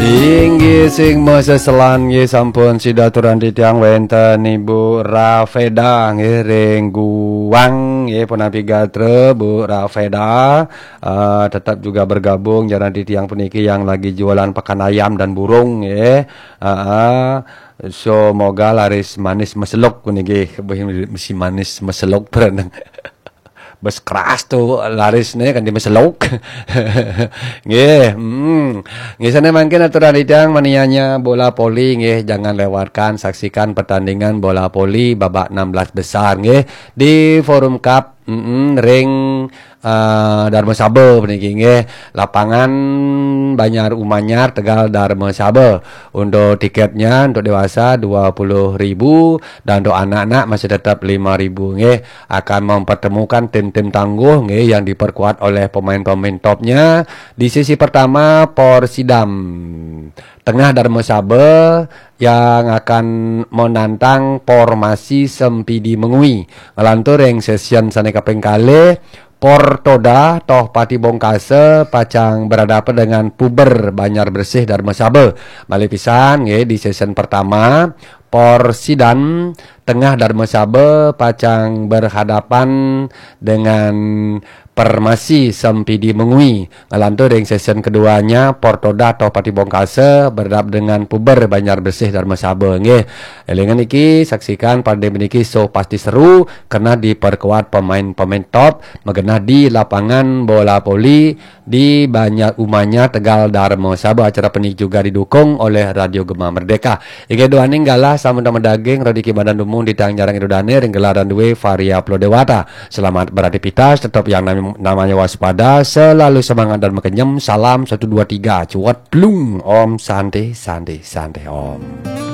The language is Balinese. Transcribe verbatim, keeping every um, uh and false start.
Inggih sing maseselan nggih sampun sida aturang titiang wenten Ibu Rafeda nggih ring Guang nggih punapi gatra Bu Rafeda. Eh, tetap juga bergabung jarang titiang puniki yang lagi jualan pakan ayam dan burung nggih. Heeh. Semoga laris manis meseluk puniki. Beh, mesti manis meseluk berenang. Bes keras tuh laris nih kan di meseluk. Nggih, hmm. Nggih sana mangkin aturan idang manianya bola voli nggih, jangan lewatkan saksikan pertandingan bola voli babak enam belas besar nggih di Forum Cup, mm, ring eh, Darmasaba puniki nggih. Lapangan Banjar Umanyar, Tegal, Darmasaba. Untuk tiketnya untuk dewasa dua puluh ribu dan untuk anak-anak masih tetap lima ribu nggih. Akan mempertemukan tim-tim tangguh nggih yang diperkuat oleh pemain-pemain topnya. Di sesi pertama Por Sidam, Tengah Darmasaba yang akan menantang Por Masi Sempidi Mengwi. Ngelantur ring sesi sane kaping kalih, Por Toda Tohpati Bongkasa pacang berhadapan dengan Puber Banjar Bersih Darmasaba. Malih pisan nggih di sesi pertama, Por Sidan Tengah Darmasaba pacang berhadapan dengan Permasi Sempidi Mengwi. Ngelantur ring sesi keduanya, Por Toda Tohpati Bongkasa berhadap dengan Puber Banjar Bersih Darmasaba nggih. Elingan iki, saksikan pada meniki so pasti seru karena diperkuat pemain-pemain top magenah di lapangan bola voli di Banjar Umanyar, Tegal, Darmasaba. Acara puniki juga didukung oleh Radio Gema Merdeka. Inggih duaning galah sampun medaging, Rodi Kibadan Dumung di Tang Jarang Idodane ring gelaran duwe Varia Pulau Dewata. Selamat beraktivitas, tetap yang nam- namanya waspada, selalu semangat dan makenyem. Salam satu dua tiga, cuat plung, Om Santi, Santi, Santi, Om.